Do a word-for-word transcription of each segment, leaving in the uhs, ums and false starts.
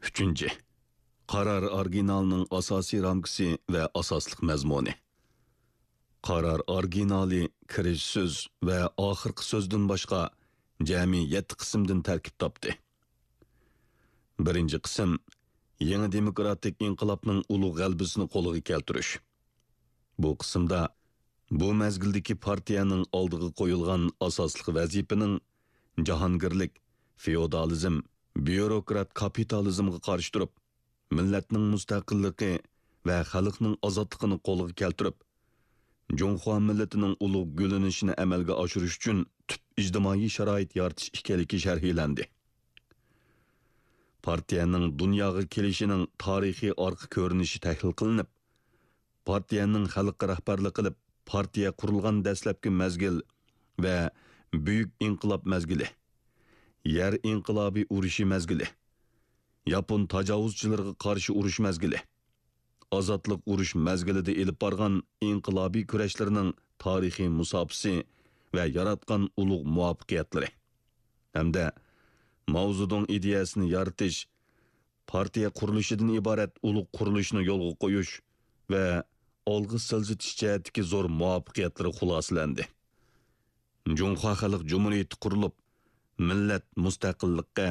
ئۈچىنچى، قارار ئورىگىنالىنىڭ ئاساسىي رامكىسى ۋە ئاساسلىق مەزمۇنى. قارار ئورىگىنالى كىرىش سۆز ۋە ئاخىرقى سۆزدىن باشقا جەمئىي يەتتە قىسىمدىن تەركىب تاپتى. بىرىنچى قىسىم، يېڭى دېموكراتىك ئىنقىلابنىڭ ئۇلۇغ غەلىبىسىنى قولغا كەلتۈرۈش. بۇ قىسىمدا بۇ مەزگىلدىكى پارتىيەنىڭ ئالدىغا قويۇلغان ئاساسلىق ۋەزىپىنىڭ جاھانگىرلىك، فېئودالىزم، بيۇروكرات كاپىتالىزمغا قارشى تۇرۇپ، مىللەتنىڭ مۇستەقىللىقى ۋە خەلقنىڭ ئازادلىقىنى قولغا كەلتۈرۈپ، جۇڭخۇا مىللىتىنىڭ ئۇلۇغ گۈللىنىشىنى ئەمەلگە ئاشۇرۇش ئۈچۈن تۈپ ئىجتىمائىي شارائىت يارىتىش ئىكەنلىكى شەرھلەندى. پارتىيەنىڭ دۇنياغا كېلىشىنىڭ تارىخىي ئارقا كۆرۈنۈشى تەھلىل قىلىنىپ، پارتىيەنىڭ خەلققە رەھبەرلىك قىلىپ، پارتىيە قۇرۇلغان دەسلەپكى مەزگىل ۋە بۈيۈك ئىنقىلاب مەزگىلى، يەر ئىنقىلابى ئۇرۇشى مەزگىلى، ياپون تاجاۋۇزچىلىرىغا قارشى ئۇرۇش مەزگىلى، ئازادلىق ئۇرۇش مەزگىلىدە ئېلىپ بارغان ئىنقىلابىي كۈرەشلىرىنىڭ تارىخىي مۇساپىسى ۋە ياراتقان ئۇلۇغ مۇۋەپپەقىيەتلىرى ھەمدە ماۋزېدۇڭ ئىدىيەسىنى يارىتىش، پارتىيە قۇرۇلۇشىدىن ئىبارەت ئۇلۇغ قۇرۇلۇشنى يولغا قويۇش ۋە ئالغا سىلجىتىش جەھەتتىكى زور مۇۋەپپەقىيەتلىرى خۇلاسىلەندى. جۇڭخۇا خەلق جۇمھۇرىيىتى قۇرۇلۇپ، مىللەت مۇستەقىللىققا،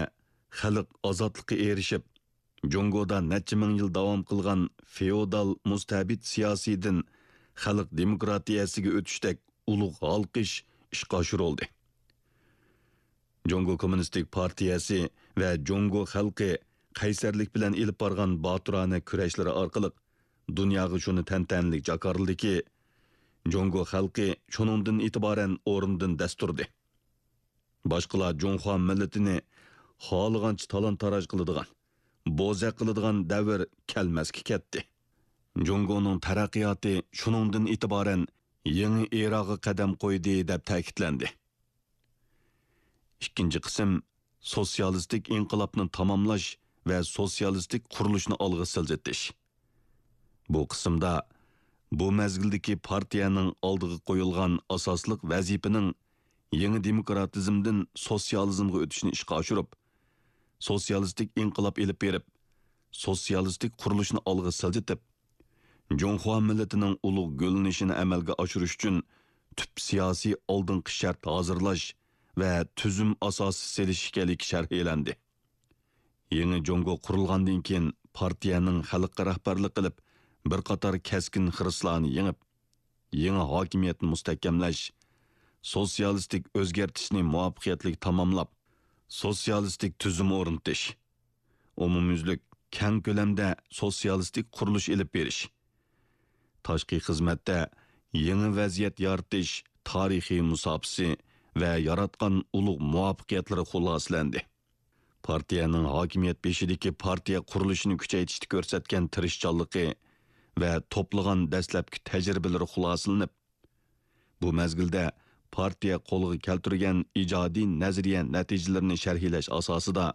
خەلق ئازادلىققا ئېرىشىپ، جۇڭگودا نەچچە مىڭ يىل داۋام قىلغان فېئودال مۇستەبىت سىياسىيدىن خەلق دېموكراتىيەسىگە ئۆتۈشتەك ئۇلۇغ ھالقىش ئىشقا ئاشۇرۇلدى. جۇڭگو كوممۇنىستىك پارتىيەسى ۋە جۇڭگو خەلقى قەيسەرلىك بىلەن ئېلىپ بارغان باتۇرانە كۈرەشلىرى ئارقىلىق دۇنياغا شۇنى تەنتەنىلىك جاكارلىدىكى، جۇڭگو خەلقى شۇنىڭدىن ئېتىبارەن ئورنىدىن دەس تۇردى. باشقىلار جۇڭخۇا مىللىتىنى خالىغانچە تالان-تاراج قىلىدىغان، بوزەك قىلىدىغان دەۋر كەلمەسكە كەتتى. جۇڭگونىڭ تەرەققىياتى شۇنىڭدىن ئېتىبارەن يېڭى ئېراغا قەدەم قويدى، دەپ تەكىتلەندى. ئىككىنچى قىسىم، سوتسىيالىستىك ئىنقىلابنى تاماملاش ۋە سوتسىيالىستىك قۇرۇلۇشنى ئالغا سىلجىتىش. بۇ قىسىمدا بۇ مەزگىلدىكى پارتىيەنىڭ ئالدىغا قويۇلغان ئاساسلىق ۋەزىپىنىڭ يېڭى دېموكراتىزمدىن سوتسىيالىزمغا ئۆتۈشنى ئىشقا ئاشۇرۇپ، سوتسىيالىستىك ئىنقىلاب ئېلىپ بېرىپ، سوتسىيالىستىك قۇرۇلۇشنى ئالغا سىلجىتىپ، جۇڭخۇا مىللىتىنىڭ ئۇلۇغ گۈللىنىشىنى ئەمەلگە ئاشۇرۇش ئۈچۈن تۈپ سىياسىي ئالدىنقى شەرت ھازىرلاش ۋە تۈزۈم ئاساسى سېلىش ئىكەنلىكى شەرھلەندى. يېڭى جۇڭگو قۇرۇلغاندىن كېيىن، پارتىيەنىڭ خەلققە رەھبەرلىك قىلىپ، بىر قاتار كەسكىن خىرىسلارنى يېڭىپ، يېڭى ھاكىمىيەتنى مۇستەھكەملەش، سوتسىيالىستىك ئۆزگەرتىشنى مۇۋەپپەقىيەتلىك تاماملاپ، سوتسىيالىستىك تۈزۈم ئورنىتىش، ئومۇميۈزلۈك كەڭ كۆلەمدە سوتسىيالىستىك قۇرۇلۇش ئېلىپ بېرىش، تاشقى خىزمەتتە يېڭى ۋەزىيەت يارىتىش تارىخىي مۇساپىسى ۋە ياراتقان ئۇلۇغ مۇۋەپپەقىيەتلىرى خۇلاسىلەندى. پارتىيەنىڭ ھاكىمىيەت بېشىدىكى پارتىيە قۇرۇلۇشىنى كۈچەيتىشتە كۆرسەتكەن تىرىشچانلىقى ۋە توپلىغان دەسلەپكى تەجرىبىلىرى خۇلاسىلىنىپ، بۇ مەزگىلدە پارتىيە قولغا كەلتۈرگەن ئىجادىي نەزەرىيە نەتىجىلىرىنى شەرھلەش ئاساسىدا،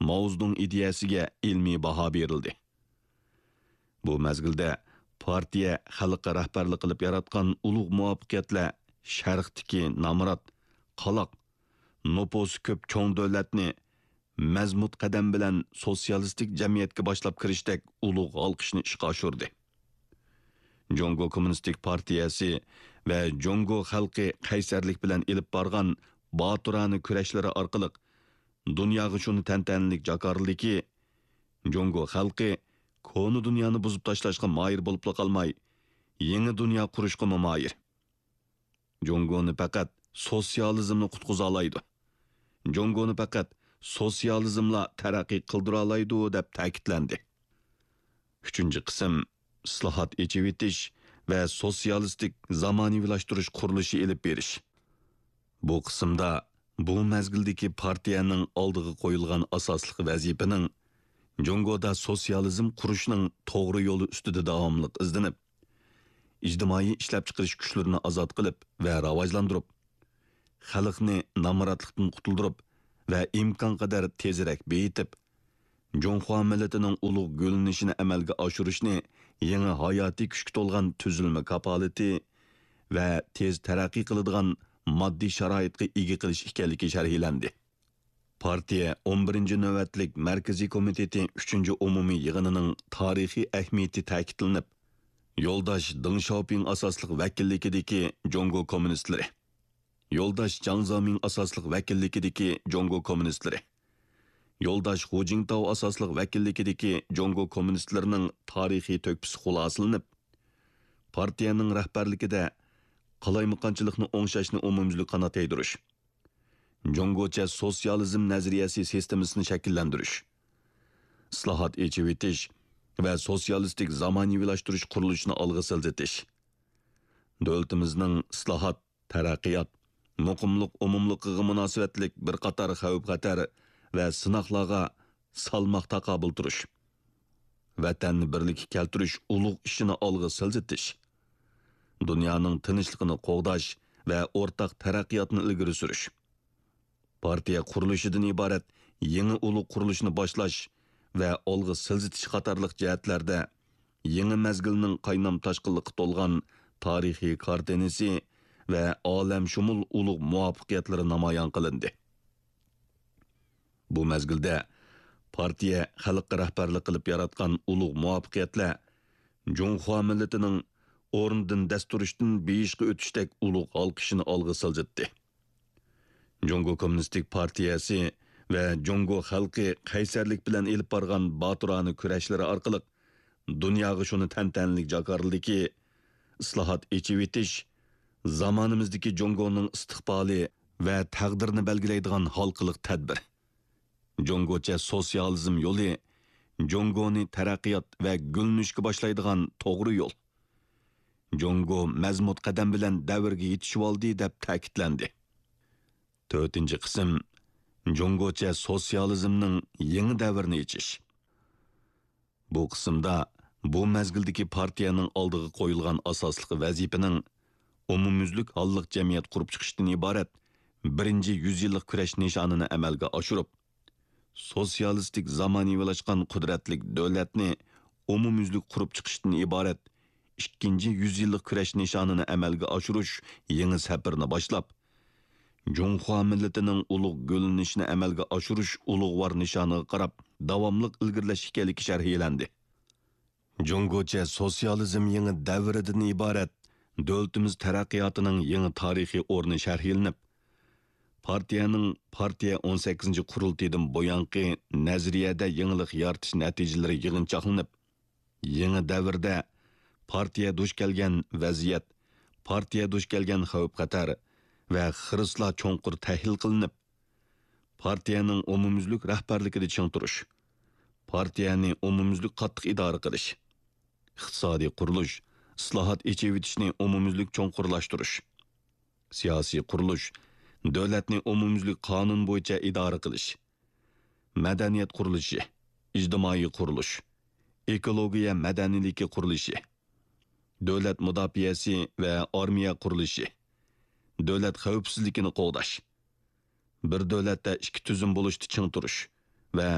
ماۋزېدۇڭ ئىدىيەسىگە ئىلمىي باھا بېرىلدى. بۇ مەزگىلدە پارتىيە خەلققە رەھبەرلىك قىلىپ ياراتقان ئۇلۇغ مۇۋەپپەقىيەتلەر شەرقتىكى نامرات، قالاق، نوپۇسى كۆپ چوڭ دۆلەتنى مەزمۇت قەدەم بىلەن سوتسىيالىستىك جەمئىيەتكە باشلاپ كىرىشتەك ئۇلۇغ ھالقىشنى ئىشقا ئاشۇردى. جۇڭگو كوممۇنىستىك پارتىيەسى ۋە جۇڭگو خەلقى قەيسەرلىك بىلەن ئېلىپ بارغان باتۇرانە كۈرەشلىرى ئارقىلىق دۇنياغا شۇنى تەنتەنىلىك جاكارلىدىكى، جۇڭگو خەلقى كونا دۇنيانى بۇزۇپ تاشلاشقا ماھىر بولۇپلا قالماي، يېڭى دۇنيا قۇرۇشقىمۇ ماھىر. جۇڭگونى پەقەت سوتسىيالىزملا قۇتقۇزالايدۇ. جۇڭگونى پەقەت سوتسىيالىزملا تەرەققىي قىلدۇرالايدۇ، دەپ تەكىتلەندى. ئۈچىنچى قىسىم، ئىسلاھات، ئېچىۋېتىش ۋە سوتسىيالىستىك زامانىۋىلاشتۇرۇش قۇرۇلۇشى ئېلىپ بېرىش. بۇ قىسىمدا بۇ مەزگىلدىكى پارتىيەنىڭ ئالدىغا قويۇلغان ئاساسلىق ۋەزىپىنىڭ جۇڭگودا سوتسىيالىزم قۇرۇشنىڭ توغرا يولى ئۈستىدە داۋاملىق ئىزدىنىپ، ئىجتىمائىي ئىشلەپچىقىرىش كۈچلىرىنى ئازاد قىلىپ ۋە راۋاجلاندۇرۇپ، خەلقنى نامراتلىقتىن قۇتۇلدۇرۇپ ۋە ئىمكانقەدەر تېزرەك بېيىتىپ، جۇڭخۇا مىللىتىنىڭ ئۇلۇغ گۈللىنىشىنى ئەمەلگە ئاشۇرۇشنى يېڭى ھاياتىي كۈچكە تولغان تۈزۈلمە كاپالىتى ۋە تېز تەرەققىي قىلىدىغان ماددىي شارائىتقا ئىگە قىلىش ئىكەنلىكى شەرھلەندى. پارتىيە ئون بىرىنچى نۆۋەتلىك مەركىزىي كومىتېتى ئۈچىنچى ئومۇمىي يىغىنىنىڭ تارىخىي ئەھمىيىتى تەكىتلىنىپ، يولداش دېڭ شياۋپىڭ ئاساسلىق ۋەكىللىكىدىكى جۇڭگو كوممۇنىستلىرى، يولداش جاڭ زېمىڭ ئاساسلىق ۋەكىللىكىدىكى جۇڭگو كوممۇنىستلىرى، يولداش خۇ جىڭتاۋ ئاساسلىق ۋەكىللىكىدىكى جۇڭگو كوممۇنىستلىرىنىڭ تارىخىي تۆھپىسى خۇلاسىلىنىپ، پارتىيەنىڭ رەھبەرلىكىدە قالايمىقانچىلىقنى ئوڭشاشنى ئومۇميۈزلۈك قانات يايدۇرۇش، جۇڭگوچە سوتسىيالىزم نەزەرىيەسى سىستېمىسىنى شەكىللەندۈرۈش، ئىسلاھات، ئېچىۋېتىش ۋە سوتسىيالىستىك زامانىۋىلاشتۇرۇش قۇرۇلۇشىنى ئالغا سىلجىتىش، دۆلىتىمىزنىڭ ئىسلاھات، تەرەققىيات، مۇقىملىق ئومۇملۇقىغا مۇناسىۋەتلىك بىر قاتار خەۋپ-خەتەر ۋە سىناقلارغا سالماق تاقابىل تۇرۇش، ۋەتەننى بىرلىككە كەلتۈرۈش ئۇلۇغ ئىشىنى ئالغا سىلجىتىش، دۇنيانىڭ تىنچلىقىنى قوغداش ۋە ئورتاق تەرەققىياتنى ئىلگىرى سۈرۈش، پارتىيە قۇرۇلۇشىدىن ئىبارەت يېڭى ئۇلۇغ قۇرۇلۇشنى باشلاش ۋە ئالغا سىلجىتىش قاتارلىق جەھەتلەردە يېڭى مەزگىلنىڭ قاينام-تاشقىنلىققا تولغان تارىخىي كارتىنىسى ۋە ئالەمشۇمۇل ئۇلۇغ مۇۋەپپەقىيەتلىرى نامايان قىلىندى. بۇ مەزگىلدە پارتىيە خەلققە رەھبەرلىك قىلىپ ياراتقان ئۇلۇغ مۇۋەپپەقىيەتلەر جۇڭخۇا مىللىتىنىڭ ئورنىدىن دەس تۇرۇشتىن بېيىشقا ئۆتۈشتەك ئۇلۇغ ھالقىشىنى ئالغا سىلجىتتى. جۇڭگو كوممۇنىستىك پارتىيەسى ۋە جۇڭگو خەلقى قەيسەرلىك بىلەن ئېلىپ بارغان باتۇرانە كۈرەشلىرى ئارقىلىق دۇنياغا شۇنى تەنتەنىلىك جاكارلىدىكى، ئىسلاھات، ئېچىۋېتىش زامانىمىزدىكى جۇڭگونىڭ ئىستىقبالى ۋە تەقدىرىنى بەلگىلەيدىغان ھالقىلىق تەدبىر. جۇڭگوچە سوتسىيالىزم يولى جۇڭگونى تەرەققىيات ۋە گۈللىنىشكە باشلايدىغان توغرا يول. جۇڭگو مەزمۇت قەدەم بىلەن دەۋرگە يېتىشىۋالدى، دەپ تەكىتلەندى. تۆتىنچى قىسىم، جۇڭگوچە سوتسىيالىزمنىڭ يېڭى دەۋرىنى ئېچىش. بۇ قىسىمدا بۇ مەزگىلدىكى پارتىيەنىڭ ئالدىغا قويۇلغان ئاساسلىق ۋەزىپىنىڭ ئومۇميۈزلۈك ھاللىق جەمئىيەت قۇرۇپ چىقىشتىن ئىبارەت بىرىنچى يۈز يىللىق كۈرەش نىشانىنى ئەمەلگە ئاشۇرۇپ، سوتسىيالىستىك زامانىۋىلاشقان قۇدرەتلىك دۆلەتنى ئومۇميۈزلۈك قۇرۇپ چىقىشتىن ئىبارەت ئىككىنچى يۈز يىللىق كۈرەش نىشانىنى ئەمەلگە ئاشۇرۇش يېڭى سەپىرىنى باشلاپ، جۇڭخۇا مىللىتىنىڭ ئۇلۇغ گۈللىنىشىنى ئەمەلگە ئاشۇرۇش ئۇلۇغۋار نىشانىغا قاراپ داۋاملىق ئىلگىرىلەش ئىكەنلىكى شەرھلەندى. جۇڭگوچە سوتسىيالىزم يېڭى دەۋرىدىن ئىبارەت دۆلىتىمىز تەرەققىياتىنىڭ يېڭى تارىخىي ئورنى شەرھلىنىپ، پارتىيەنىڭ پارتىيە ئون سەككىزىنچى قۇرۇلتىيىدىن بۇيانقى نەزەرىيەدە يېڭىلىق يارىتىش نەتىجىلىرى يىغىنچاقلىنىپ، يېڭى دەۋردە پارتىيە دۇچ كەلگەن ۋەزىيەت، پارتىيە دۇچ كەلگەن خەۋپ-خەتەر ۋە خىرىسلار چوڭقۇر تەھلىل قىلىنىپ، پارتىيەنىڭ ئومۇميۈزلۈك رەھبەرلىكىدە چىڭ تۇرۇش، پارتىيەنى ئومۇميۈزلۈك قاتتىق ئىدارە قىلىش، ئىقتىسادىي قۇرۇلۇش، ئىسلاھات، ئېچىۋېتىشنى ئومۇميۈزلۈك چوڭقۇرلاشتۇرۇش، سىياسىي قۇرۇلۇش، دۆلەتنى ئومۇميۈزلۈك قانۇن بويىچە ئىدارە قىلىش، مەدەنىيەت قۇرۇلۇشى، ئىجتىمائىي قۇرۇلۇش، ئېكولوگىيە مەدەنىيلىكى قۇرۇلۇشى، دۆلەت مۇداپىئەسى ۋە ئارمىيە قۇرۇلۇشى، دۆلەت خەۋپسىزلىكىنى قوغداش، بىر دۆلەتتە ئىككى تۈزۈم بولۇشتا چىڭ تۇرۇش ۋە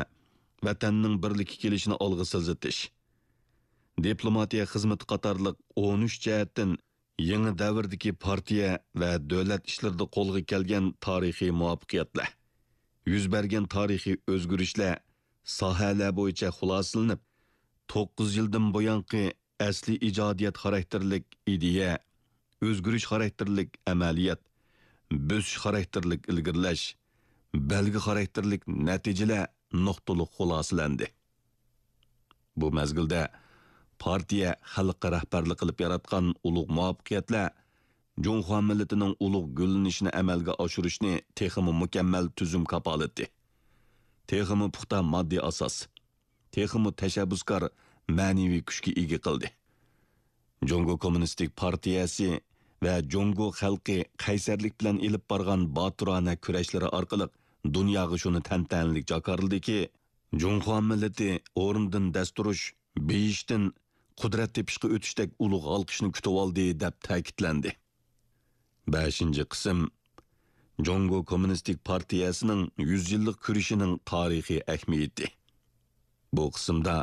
ۋەتەننىڭ بىرلىككە كېلىشىنى ئالغا سىلجىتىش، دىپلوماتىيە خىزمىتى قاتارلىق ئون ئۈچ جەھەتتىن يېڭى دەۋردىكى پارتىيە ۋە دۆلەت ئىشلىرىدا قولغا كەلگەن تارىخىي مۇۋەپپەقىيەتلەر، يۈز بەرگەن تارىخىي ئۆزگىرىشلەر ساھەلەر بويىچە خۇلاسىلىنىپ، توققۇز يىلدىن بۇيانقى ئەسلىي ئىجادىيەت خاراكتېرلىك ئىدىيە، ئۆزگىرىش خاراكتېرلىك ئەمەلىيەت، بۆسۈش خاراكتېرلىك ئىلگىرىلەش، بەلگە خاراكتېرلىك نەتىجىلەر نۇقتىلىق خۇلاسىلەندى. بۇ مەزگىلدە پارتىيە خەلققە رەھبەرلىك قىلىپ ياراتقان ئۇلۇغ مۇۋەپپەقىيەتلەر جۇڭخۇا مىللىتىنىڭ ئۇلۇغ گۈللىنىشىنى ئەمەلگە ئاشۇرۇشنى تېخىمۇ مۇكەممەل تۈزۈم كاپالىتى، تېخىمۇ پۇختا ماددىي ئاساس، تېخىمۇ تەشەببۇسكار مەنىۋى كۈچكە ئىگە قىلدى. جۇڭگو كوممۇنىستىك پارتىيەسى ۋە جۇڭگو خەلقى قەيسەرلىك بىلەن ئېلىپ بارغان باتۇرانە كۈرەشلىرى ئارقىلىق دۇنياغا شۇنى تەنتەنىلىك جاكارلىدىكى، جۇڭخۇا مىللىتى ئورنىدىن دەس تۇرۇش، بېيىشتىن قۇدرەت تېپىشقا ئۆتۈشتەك ئۇلۇغ ھالقىشنى كۈتۈۋالدى، دەپ تەكىتلەندى. بەشىنچى قىسىم، جۇڭگو كوممۇنىستىك پارتىيەسىنىڭ يۈز يىللىق كۈرىشىنىڭ تارىخىي ئەھمىيىتى. بۇ قىسىمدا